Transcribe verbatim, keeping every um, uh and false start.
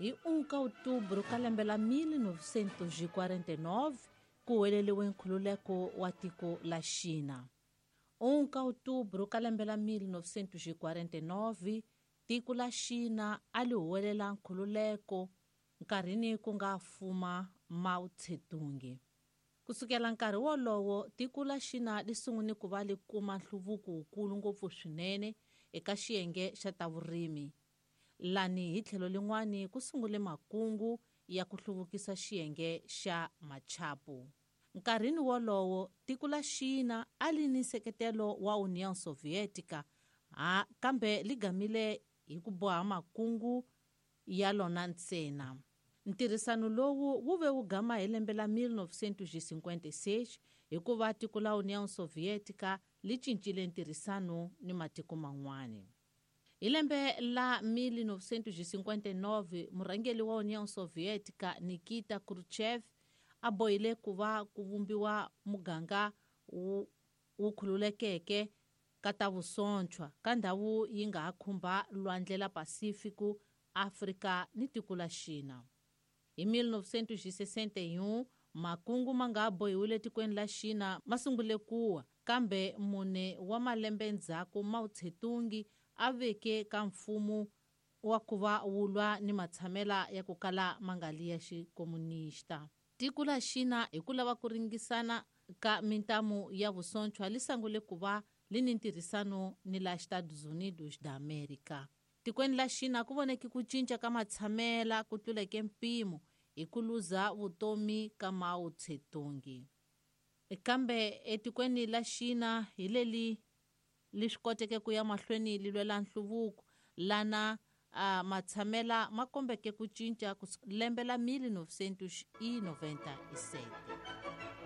Hi um ka outubro ka lembe la mil novecentos e quarenta e nove ku huweleliwe nkhululeko wa tiko la Xina. um ka outubro ka lembe la mil novecentos e quarenta e nove tiko la Xina a li huwelela nkhululeko nkarhini ku nga fuma Mao Tse-tung. Kusukela nkarhi wolowo tiko la Xina li sungule ku va li kuma nhluvuko wukulu ngopfu swinene eka xiyenge xa ta vurimi. Lani hi tlhelo lin'wani ku sungule makungu ya ku hluvukisa xiyenge xa machapu. Nkarhini wolowo tiko la Xina a li ni nseketelo wa União Soviética, ha kambe li gamile hi ku boha makungu ya lona ntsena. Ntirhisano lowu wu ve wu gama hi lembe la mil novecentos e cinquenta e seis hikuva tiko la União Soviética li cincile ntirhisano ni matiko man'wani. Hi lembe la mil novecentos e cinquenta e nove murhangeri wa União Soviética Nikita Khrushchev a bohile ku va ku vumbiwa muganga wu, wu khululekeke ka ta vusontshwa ka ndhawu yi nga ha khumba lwandle la Pacífico, Afrika ni tiko la Xina. Hi mil novecentos e sessenta e um makungu ma nga bohiwile tikweni la Xina ma sungule kuwa, kambe mune wa malembe ndzhaku Mao Tse-tung a veke ka mfumo wa ku va wu lwa ni matshamela ya ku kala ma nga li ya xikomunista. Tiko la Xina hi ku lava ku ringisana ka mintamu ya vusontshwa li sungule ku va li ni ntirhisano ni la Estados Unidos da América. Tikweni la Xina ku voneke ku cinca ka matshamela ku tluleke mpimo hi ku luza vutomi ka Mao Tse-tung. Kambe etikweni la Xina hi leli li swi koteke ku ya mahlweni li lwela nhluvuko lana a matshamela ma kombeke ku cinca ku lembe la mil novecentos e noventa e sete.